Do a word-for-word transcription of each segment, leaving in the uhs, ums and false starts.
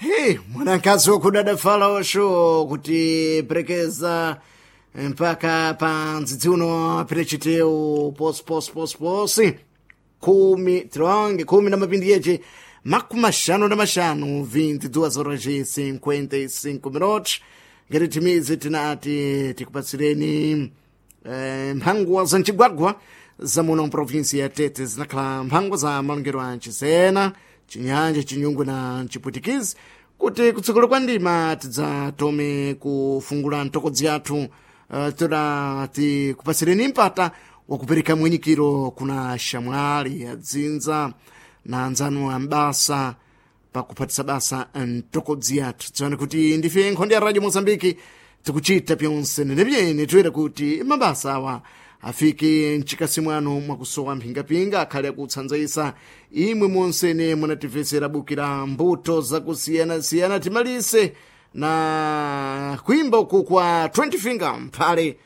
Hey, mwanakazi wokudada fala osho kuti perekeza mpaka pa ndzidzi uno pirechiteu posi posi posi posi khumi tironge khumi na mapindi yeche makumi maxanu na maxanu vinte e duas horas e cinquenta e cinco minutos. Ngati timizi tinati tikupatsireni eh, mphangwa za mcigwagwa za muno mprovinsi ya Tete, zinakhala mphangwa za malongero a Nchisena, Chinyanja, Chinyungu na Mchipwitikizi, kuti kutsogolo kwa ndima tidzatome kufungula ntokodzi yathu, uh, toda tikupatsireni mpata wakupereka mwenyikiro kuna shamwali adzinza na anzanu ambasa pakuphatisa basa ntokodzi yathu. Dziwani kuti ndife nkhonde ya Radio Mozambiki, tikuchita pyonse nenepyene toyera kuti mabasa awa afike mchikasi mwanu mwakusowa mphingapinga, akhale akutsanzaisa imwe monsene munatifesera bukira mbuto zakusiyanasiyana. Timalise na kuimba uku kwa twenty Finger Mphale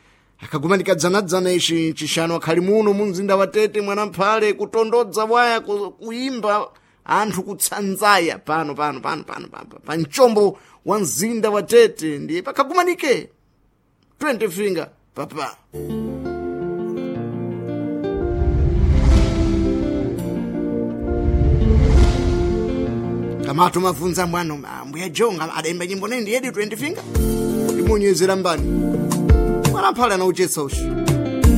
akagumanika dzanadzana ici chishanu akhali muno mu mzinda wa Tete. Mwana Mphale kutondodza waya ku- kuimba anthu kutsanzaya pano pano pano pano pano pa mchombo wa mzinda wa Tete, ndiye pakagumanike twenty Finger papa. Kamatu mavunza mwano ambuya Jonga adayimba nyimbo nendi yedi twenty Finger imunyezera mbani mwana Mphale anauchetsa ushi.